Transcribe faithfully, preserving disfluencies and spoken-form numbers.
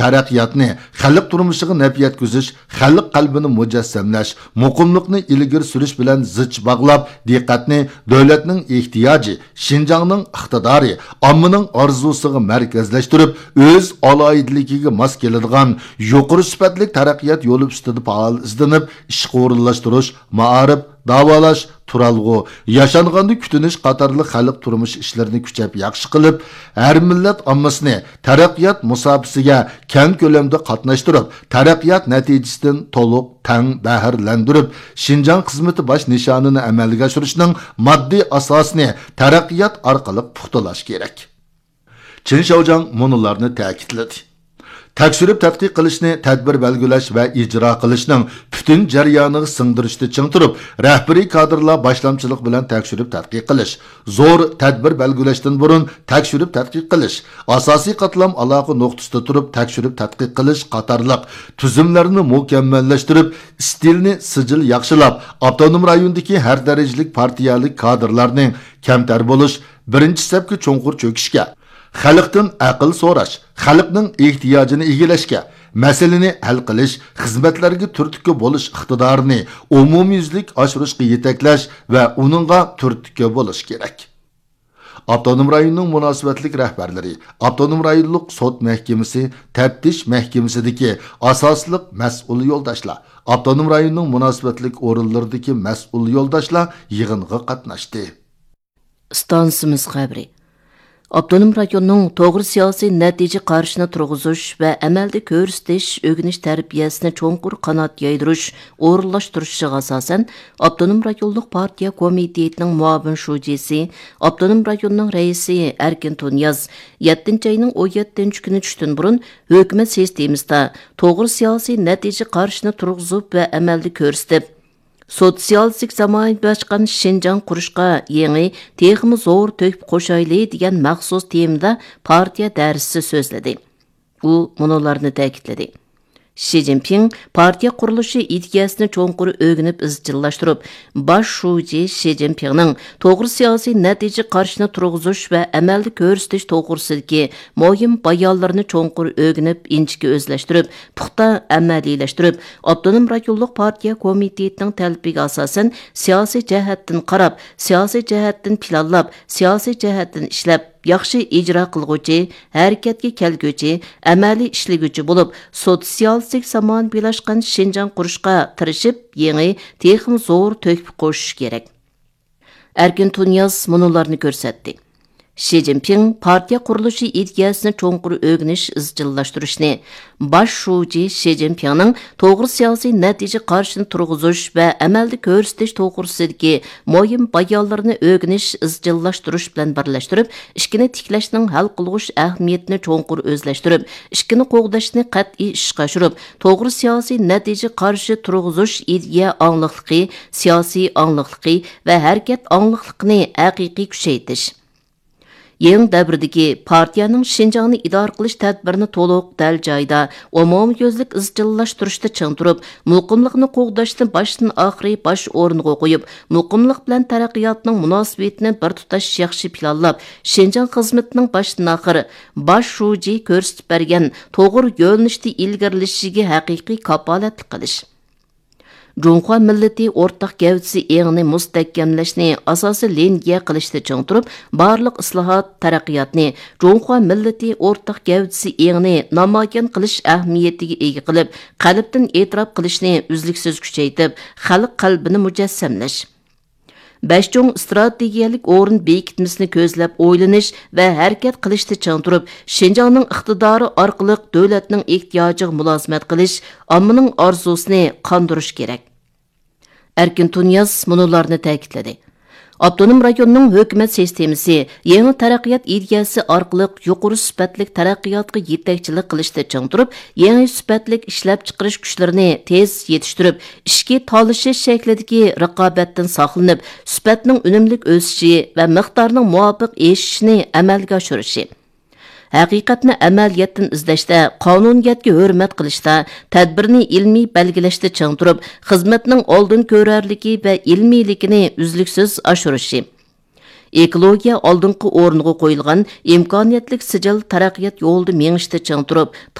تەرەققىياتنى خەلق تۇرمۇشىغا نەپ يەتكۈزۈش، خەلق قەلبىنى مۇجەسسەملەش، مۇقىملىقنى ئىلگىرى سۈرۈش بىلەن زىچ باغلاپ، دىققەتنى دۆلەتنىڭ ئېھتىياجى، شىنجاڭنىڭ ئىقتىدارى، ئاممىنىڭ ئارزۇسىغا مەركەزلەشتۈرۈپ، ئۆز ئالاھىدىلىكىگە ماس كېلىدىغان يۇقىرى سۈپەتلىك تەرەققىيات يولى ئۈستىدە پائال ئىزدىنىپ، ئىشقا ئورۇنلاشتۇرۇش، مائارىپ، داۋالاش، تۇرالغۇ، ياشانغاندا كۈتۈنۈش قاتارلىق خەلق تۇرمۇش ئىشلىرىنى كۈچەپ ياخشى قىلىپ، ھەر مىللەت ئاممىسىنى تەرەققىيات مۇساپىسىگە كەڭ كۆلەمدە قاتناشتۇرۇپ، تەرەققىيات نەتىجىسىدىن تولۇق، تەڭ بەھرىلەندۈرۈپ، شىنجاڭ خىزمىتى باش نىشانىنى ئەمەلگە ئاشۇرۇشنىڭ ماددىي ئاساسىنى تەرەققىيات ئارقىلىق پۇختىلاش كېرەك. چېن شياۋجياڭ مۇنۇلارنى تەكىتلىدى. تەكشۈرۈپ تەتقىق قىلىشنى تەدبىر بەلگىلەش ۋە ئىجرا قىلىشنىڭ پۈتۈن جەريانىغا سىڭدۈرۈشتە چىڭ تۇرۇپ، رەھبىرىي كادىرلار باشلامچىلىقى بىلەن تەكشۈرۈپ تەتقىق قىلىش، زور تەدبىر بەلگىلەشتىن بۇرۇن تەكشۈرۈپ تەتقىق قىلىش، ئاساسىي قاتلام ئالاقە نۇقتىسىدا تۇرۇپ تەكشۈرۈپ تەتقىق قىلىش قاتارلىق تۈزۈملەرنى مۇكەممەللەشتۈرۈپ، ئىستىلنى سىجىل ياخشىلاپ، ئاپتونوم رايوندىكى ھەر دەرىجىلىك پارتىيەلىك كادىرلارنى كەمتەر بولۇش، بىرىنچى سەپكە چوڭقۇر چۆكۈشكە، خەلقتىن ئەقىل سوراش، خەلقنىڭ ئېھتىياجىنى ئىگىلەشكە، مەسىلىنى ھەل قىلىش، خىزمەتلەرگە تۈرتكە بولۇش ئىقتىدارىنى ئومۇميۈزلۈك ئاشۇرۇشقا يېتەكلەش ۋە ئۇنىڭغا تۈرتكە بولۇش كېرەك. ئاپتونوم رايوننىڭ مۇناسىۋەتلىك رەھبەرلىرى، ئاپتونوم رايونلۇق سوت مەھكىمىسى، تەپتىش مەھكىمىسىدىكى ئاساسلىق مەسئۇل يولداشلار، ئاپتونوم رايوننىڭ مۇناسىۋەتلىك ئورۇنلىرىدىكى مەسئۇل يولداشلار يىغىنغا قاتناشتى. ئىستانسىمىز خەۋىرى. ئاپتونوم رايوننىڭ توغرا سىياسىي نەتىجە قارىشىنى تۇرغۇزۇش ۋە ئەمەلدە كۆرسىتىش، ئۆگىنىش تەربىيەسىنى چوڭقۇر قانات يايدۇرۇش، ئورۇنلاشتۇرۇشىغا ئاساسەن، ئاپتونوم رايونلۇق پارتىيە كومىتېتىنىڭ مۇئاۋىن شۇجىسى، ئاپتونوم رايوننىڭ رەئىسى ئەركىن تۇنىياز يەتتىنچى ئاينىڭ ئون يەتتىنچى كۈنى چۈشتىن بۇرۇن ھۆكۈمەت سىستېمىسىدا توغرا سىياسىي نەتىجە قارىشىنى تۇرغۇزۇپ ۋە ئەمەلدە كۆرسىتىپ، سوتسىيالىستىك زامانىۋىلاشقان شىنجاڭ قۇرۇشقا يېڭى، تېخىمۇ زور تۆھپە قوشايلى دېگەن مەخسۇس تېمىدا پارتىيە دەرسىسى سۆزلىدى. ئۇ مۇنۇلارنى تەكىتلىدى. شى جىنپىڭ پارتىيە قۇرۇلۇشى ئىدىيەسىنى چوڭقۇر ئۆگىنىپ ئىزچىللاشتۇرۇپ، باش شۇجى شى جىنپىڭنىڭ توغرا سىياسىي نەتىجە قارىشىنى تۇرغۇزۇش ۋە ئەمەلدە كۆرسىتىش توغرىسىدىكى مۇھىم بايانلىرىنى چوڭقۇر ئۆگىنىپ، ئىنچىكە ئۆزلەشتۈرۈپ، پۇختا ئەمەلىيلەشتۈرۈپ، ئاپتونوم رايونلۇق پارتىيە كومىتېتىنىڭ تەلىپىگە ئاساسەن، سىياسىي جەھەتتىن قاراپ، سىياسىي جەھەتتىن پىلانلاپ، سىياسىي جەھەتتىن ئىشلەپ، ياخشى ئىجرا قىلغۇچى، ھەرىكەتكە كەلگۈچى، ئەمەلىي ئىشلىگۈچى بولۇپ، سوتسىيالىستىك زامانىۋىلاشقان شىنجاڭ قۇرۇشقا تىرىشىپ، يېڭى، تېخىمۇ زور تۆھپە قوشۇش كېرەك. ئەركىن تۇنىياز مۇنۇلارنى كۆرسەتتى. شى جىنپىڭ پارتىيە قۇرۇلۇشى ئىدىيەسىنى چوڭقۇر ئۆگىنىش، ئىزچىللاشتۇرۇشنى، باش شۇجى شى جىنپىڭنىڭ توغرا سىياسىي نەتىجە قارىشىنى تۇرغۇزۇش ۋە ئەمەلدە كۆرسىتىش توغرىسىدىكى مۇھىم بايانلىرىنى ئۆگىنىش، ئىزچىللاشتۇرۇش بىلەن بىرلەشتۈرۈپ، ئىككىنى تىكلەشنىڭ ھەل قىلغۇچ ئەھمىيىتىنى چوڭقۇر ئۆزلەشتۈرۈپ، ئىككىنى قوغداشنى قەتئىي ئىشقا ئاشۇرۇپ، توغرا سىياسىي نەتىجە قارىشى تۇرغۇزۇش ئىدىيە ئاڭلىقلىقى، سىياسىي ئاڭلىقلىقى ۋە ھەرىكەت ئاڭلىقلىقىنى ھەقىقىي كۈچەيتىش. يېڭى دەۋردىكى پارتىيەنىڭ شىنجاڭنى ئىدارە قىلىش تەدبىرىنى تولۇق، دەل جايىدا، ئومۇميۈزلۈك ئىزچىللاشتۇرۇشتا چىڭ تۇرۇپ، مۇقىملىقنى قوغداشنى باشتىن ئاخىرى باش ئورۇنغا قويۇپ، مۇقىملىق بىلەن تەرەققىياتنىڭ مۇناسىۋىتىنى بىر تۇتاش ياخشى پىلانلاپ، شىنجاڭ خىزمىتىنىڭ باشتىن ئاخىر باش شۇجى كۆرسىتىپ بەرگەن توغرا يۆنىلىشتە ئىلگىرىلىشىگە ھەقىقىي كاپالەتلىك قىلىش. جۇڭخۇا مىللىتى ئورتاق گەۋدىسى ئېڭىنى مۇستەھكەملەشنى ئاساسىي لىنىيە قىلىشتا چىڭ تۇرۇپ، بارلىق ئىسلاھات، تەرەققىياتنى جۇڭخۇا مىللىتى ئورتاق گەۋدىسى ئېڭىنى نامايان قىلىش ئەھمىيىتىگە ئىگە قىلىپ، قەلبتىن ئېتىراپ قىلىشنى ئۈزلۈكسىز كۈچەيتىپ، خەلق قەلبىنى مۇجەسسەملەش. بەش چوڭ ئىستراتېگىيەلىك ئورۇن بېكىتمىسىنى كۆزلەپ ئويلىنىش ۋە ھەرىكەت قىلىشتا چىڭ تۇرۇپ، شىنجاڭنىڭ ئىقتىدارى ئارقىلىق دۆلەتنىڭ ئېھتىياجىغا مۇلازىمەت قىلىش، ئاممىنىڭ ئارزۇسىنى قاندۇرۇش كېرەك. ئەركىن تۇنىياز مۇنۇلارنى تەكىتلىدى. ئاپتونوم رايوننىڭ ھۆكۈمەت سىستېمىسى يېڭى تەرەققىيات ئىدىيەسى ئارقىلىق يۇقىرى سۈپەتلىك تەرەققىياتقا يېتەكچىلىك قىلىشتا چىڭ تۇرۇپ، يېڭى سۈپەتلىك ئىشلەپچىقىرىش كۈچلىرىنى تېز يېتىشتۈرۈپ، ئىچكى تالىشىش شەكلىدىكى رىقابەتتىن ساقلىنىپ، سۈپەتنىڭ ئۈنۈملۈك ئۆسۈشى ۋە مىقدارنىڭ مۇۋاپىق ئېشىشىنى ئەمەلگە ئاشۇرۇشى. ھەقىقەتنى ئەمەلىيەتتىن ئىزدەشتە، قانۇنىيەتكە ھۆرمەت قىلىشتا، تەدبىرنى ئىلمىي بەلگىلەشتە چىڭ تۇرۇپ، خىزمەتنىڭ ئالدىن كۆرەرلىكى ۋە ئىلمىيلىكىنى ئۈزلۈكسىز ئاشۇرۇشى. ئېكولوگىيە ئالدىنقى ئورۇنغا قويۇلغان ئىمكانىيەتلىك سىجىل تەرەققىيات يولىدا مېڭىشتا چىڭ تۇرۇپ،